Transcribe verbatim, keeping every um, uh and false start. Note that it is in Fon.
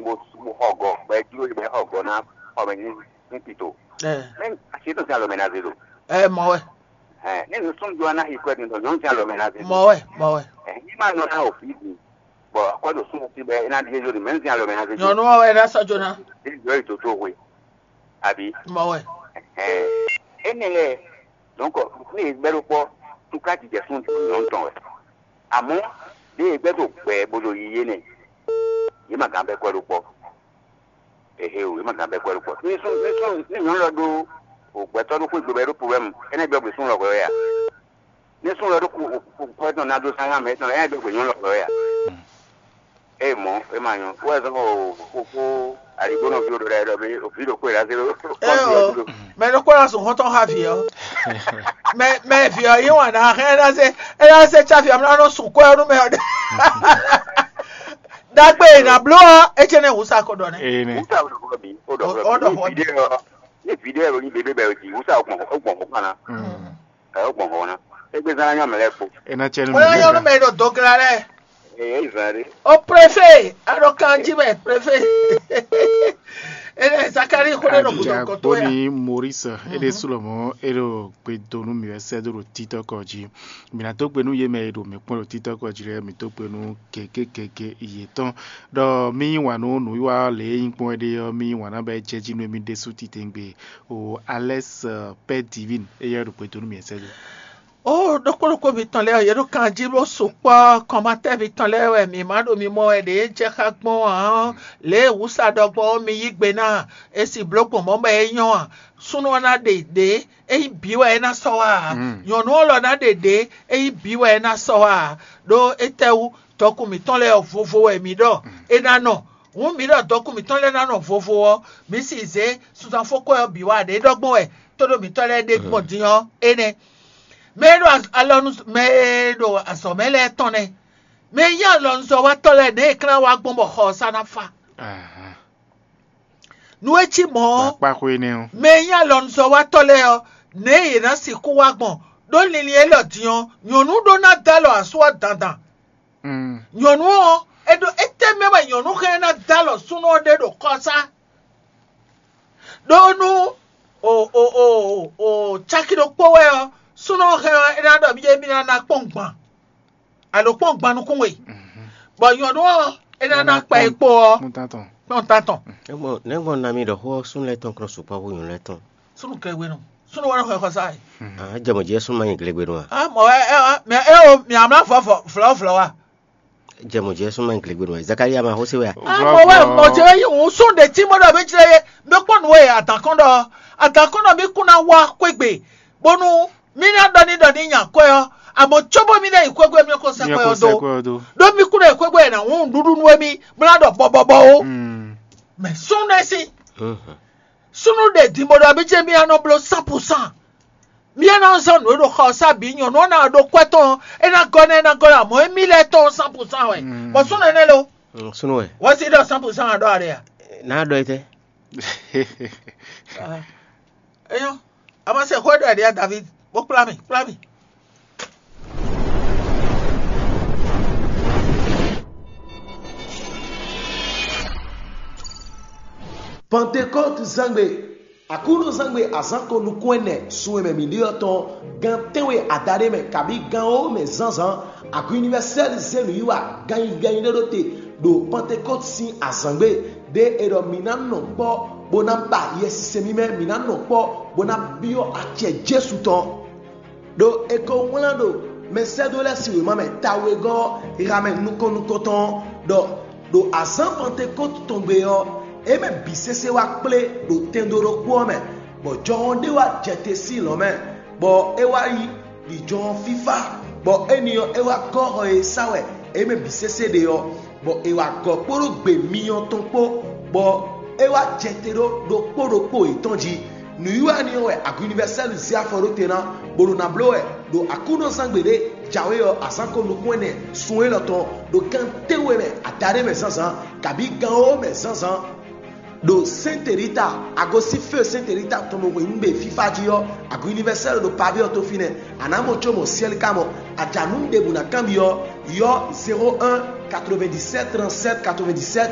bó xɔ gɔ, bɔ é jló bɔ é xɔ gɔ ná xɔ mɛ ní ní tito. Ɛ, Mɛ asi tɔn sín alɔ mɛ ná zé ɖo. Ɛ, mɔ wɛ, Ɛ, ní nusúnnú jɔ ná xi kwɛ din tɔn nyɔ̌nu sín alɔ mɛ ná zé ɖo. Mɔ wɛ, mɔ wɛ. Ɛ, ní má nɔ ná o fí din, bɔ akwɛ́ ɖo súnnu sí bɛ é ná ɖi éjó din mɛ ní sín alɔ mɛ ná zé ɖo. Nyɔnu ɔ́ wɛ ná sɔ́ jó ná. Ní jɔ yi toto hwe. Àbí. Mɔ wɛ. Ɛ, énɛ́ lɛ́ɛ, donc ní e gbɛ́ ɖó kpɔ́, túká jijɛ súnnu nyɔ̌nu tɔn wɛ. Àmọ́, ɖé e gbɛ́ ɖo gbɛ bó ɖo yiyi énɛ́, yě ma gán bɛ́ kwɛ́ ɖó kpɔ́. Ehe o, yě ma gán bɛ́ kwɛ́ ɖó kpɔ́. Ní sún ní sún ní nyɔ̌nu lɔ ɖó o gbɛtɔ́ ɖó xwé gbe bɔ é ɖó problème, énɛ́ gbɛ gbé sún lɔ hwɛ wɛ a? Ní sún lɔ ɖó kwɛ́ tɔn ná dó sán hán mɛ tɔn, énɛ́ gbɛ gbé nyɔ̌nu lɔ hwɛ wɛ a? Ée mɔ̌, é ma nyɔ́. Wɛ zɔ́n o kókó aligbónɔ ví ɖo ɖɛ ɖɔ bí òbí ɖo kpé ɖa zé ɖo. Ɛ o, mɛ ɖokpó ná sùn xɔ́ntɔn xá vǐ ɔ́. Mɛ mɛ vǐ ɔ́ yí wǎn ná hɛn ɛ ná zé ɛ ná zé tsáfi ɔ́ ná nɔ sùn kwɛ́ ɔ́ nú mɛ ɔ́ ɖe. Ɖagbe e ná bló ɔ́, é cɛ́ nɛ́ wǔ sa ko ɖɔ nɛ́. Ee nɛ. Wúta ó ɖɔ xɔ bí ó ɖɔ Ó- xɔ ó ɖɔ bí. xɔ Ní vidéo ɔ́ ní bébé bɛ́ jí wúta ó gbɔn ó gbɔn xɔ kpán ná. Ɛ ó gbɔn xɔ ná. Égbé zán ná nyɔ mɛ lɛ́ɛ kpo. É ná cɛ nú Ó yá nyɔ́ nú mɛ e ɖo dɔgla lɛ́ɛ. Ɛ é zán ɖé. Ó préfé, aɖɔ kanjí mɛ préfé. Énɛ́ Zakári xó ɖé ɖo gǔdo kɔtó ya. Boni Maurice é ɖésú lɔmɔ̌ é ɖo gbe dó nú mǐ wɛ sɛ́ dó ɖo títɔ́ kɔ jí. Mǐ ná dó gbe nú yě mɛ e ɖo mǐ kpɔ́n ɖo títɔ́ kɔ jí lɛ́ɛ, mǐ dó gbe nú gěgé gěgé yětɔn. Ɖɔ mì yí wǎn nú nǔwiwa lě e nyí gbɔn é ɖe ɔ́, mì yí wǎn ná bɔ é jɛ jí nú émí ɖésú titewungbe. O Alɛ́s Pɛ́ Divine éyɛ́ ɖo gbe dó nú mǐ wɛ sɛ́ dó. Ó ɖokpó ɖokpó mitɔn lɛ́ɛ ɔ́, yě ɖo kan jí bó sukpɔ́ kɔnmatɛ́ mitɔn lɛ́ɛ wɛ mǐ ma ɖo mi mɔ wɛ ɖě jɛ xá gbɔn ǎ ɔ́, lě e wǔsa ɖɔ gbɔn ɔ́, mi yí gbe ná e si bló gbɔn mɔ̌ bɔ é nyɔ́ a? Súnnu ɔ́ ná ɖe ɖě é nyí bǐ wɛ é ná sɔ́ wá ǎ. Nyɔ̌nu ɔ́ lɔ ná ɖe ɖě é nyí bǐ wɛ é ná sɔ́ wá ǎ. Ɖó étɛ́wú? Dɔkun mǐtɔn lɛ́ɛ ɔ́ vovo wɛ mǐ ɖɔ é ná nɔ. Hǔn mǐ ɖɔ dɔkun mǐtɔn lɛ́ɛ ná nɔ vovo ɔ́, mǐ si zě sunzanfókwɛ́ ɔ́ bǐ wá ɖě ɖɔ gbɔn wɛ tóɖó mǐtɔn lɛ́ɛ ɖe gbɔn din ɔ́ énɛ́. Mɛ e ɖo alɔ nú mɛ e ɖo azɔ̌ mɛ lɛ́ɛ tɔn nɛ́. Mɛ e nyí alɔnuzɔ́watɔ́ lɛ́ɛ nɛ̌ è klán wá gbɔn bɔ xɔ ɔ́ sá ná fa? Nú é cí mɔ̌ ɔ́, Akpáxwé énɛ́ ɔ́. mɛ e nyí alɔnuzɔ́watɔ́ lɛ́ɛ ɔ́, nɛ̌ yě ná sixú wá gbɔn? Ɖó linlin élɔ́ din ɔ́, nyɔ̌nu ɖó ná dó alɔ asú ɔ́ dandan. Mm. Nyɔ̌nu ɔ́, é ɖó étɛ́ mɛ wɛ nyɔ̌nu hɛn ná dó alɔ súnnu ɔ́ ɖe ɖo kɔsá? Ɖó nú o o o o caki ɖokpó wɛ ɔ́, súnnu ɔ́ hɛn ɔ́, é ná ɖɔ mì jɛ mì ná ná kpɔ́n gban, alo kpɔ́n gban nukún we, bɔ nyɔ̌nu ɔ́, é ná ná kpa é kpo ɔ́, Kpɔ́n tán tɔn. kpɔ́n tán tɔn. Nɛgbɔn nɛgbɔn nami ɖɔ xó ɔ́ súnnu lɛ́ɛ tɔn kplɔ́n sukpɔ́ hú nyɔ̌nu lɛ́ɛ tɔn. Súnnu kɛgbénu, súnnu wɛ nɔ xɔ xɔsá yi. Ah, jɛ mɔ̌ jí wɛ súnnu ma nyi glegbenu a? Ah, mɔ ɛ ɛ ɛ, mɛ ɛ o, mì amla vɔ vɔ vlɔ vlɔ wa. Jɛ mɔ̌ jí wɛ súnnu ma nyi glegbenu a? Zakaria ma xó sé wɛ a? Ah, mɔ wɛ mɔ jɛ yi ŋu sún ɖe tí mɔ ɖɔ mi jɛ ye, mi kpɔ nu ye adakɔn ɖɔ, adakɔn ɖɔ mi kun na wa kwegbe, bonu mi na ɖɔ ni ɖɔ ni nya kwɛ ɔ, àmọ́ tsobo mi na yi kwegbe mi ko sɛ Mía kwɛ kó ɔ sɛ do. kwɛ ɔ dó. Ɖó mi kun na yi kwegbe na ŋu ɖuɖu nu mi bla ɖɔ bɔbɔbɔ o. Mm. Mɛ sún ɖe si, Mhm. sunu ɖe din bɔ ɖɔ mi jɛ mi anɔ blo san pour cent. Mi anɔ zɔn nǔ e ɖo xɔ sa bǐ nyɔ̌nu ɔ́ ná ɖo kwɛ tɔn, é ná gɔ́ ná é ná gɔ́ ná mɔ̌ émí lɛ́ɛ tɔn san pour cent wɛ. Mm. Bɔ súnnu énɛ́ lo, Mm, Súnnu wɛ. wɔ si ɖɔ san pour cent aɖɔ aɖe ya. N'a ɖɔ etɛ. Eyɔn, a ma se xɔ ɖɔ ɖia David, bó kplá mi, kplá mi. Pantekɔ́tu zángbe, Aklúnɔzángbe azǎnko nukún ɛnɛ sun e mɛ mǐ ɖe ɔ́ tɔn, gan tɛ́nwe adaɖé mɛ kabí gan wǒ mɛ zǎnzǎn, Agun Univɛsɛ́li zé nǔwiwa ganyi ganyi ɖé ɖó te ɖo Pantekɔ́tu sín azǎngbe, ɖě è ɖɔ mǐ ná nɔ kpɔ́ bó ná ba Yɛsinsɛn mímɛ́, mǐ ná nɔ kpɔ́ bó ná byɔ́ acɛ Jezu tɔn. Ɖó è ko wlán ɖo mɛsɛ́dó lɛ́ɛ sín wěma mɛ tawegɔ́ ɔ́, ha mɛ nukɔn nukɔntɔn ɔ́, ɖɔ ɖo azǎn Pantekɔ́tu tɔn gbe ɔ́, é mɛ bǐ sésé wá kplé ɖo tɛndo ɖokpó ɔ́ mɛ, bɔ jɔhɔn ɖé wá jɛ te sín lɔ̌ mɛ, bɔ é wá yi ɖi jɔhɔn fífá, bɔ éni ɔ́, é wá gɔ́ xɔ e sá wɛ é mɛ bǐ sésé ɖe ɔ́, bɔ è wa gɔ̌ kpódó gbe myɔ tɔn kpó, bɔ é wá jɛ te ɖó ɖokpó ɖokpó yětɔn jí. Nǔwiwa énɛ́ ɔ́ wɛ Agun Univɛsɛ́lu zé afɔ ɖó te ná, bó ɖo ná bló wɛ ɖo Aklúnɔzángbe ɖé jǎwe ɔ́ azǎnko nukún ɛnɛ sun élɔ́ tɔn ɖo gan tɛ́nwe mɛ adaɖé mɛ zǎnzǎn, kabí gan wǒ mɛ zǎnzǎn. Ɖo Sɛ́nte Rita, agosín fé Sɛ́nte Rita tɔn ɖo hweyǐngbe fífá jí ɔ́, Agun Univɛsɛ́lu ɖo paví ɔ́ tó fínɛ́. A nǎ mɔ có mɔ syɛ́lí ka mɔ. A ja nǔ ɖěbǔ ná kanbyɔ́, ylɔ́ zéro un quatre-vingt-dix-sept trente-sept quatre-vingt-dix-sept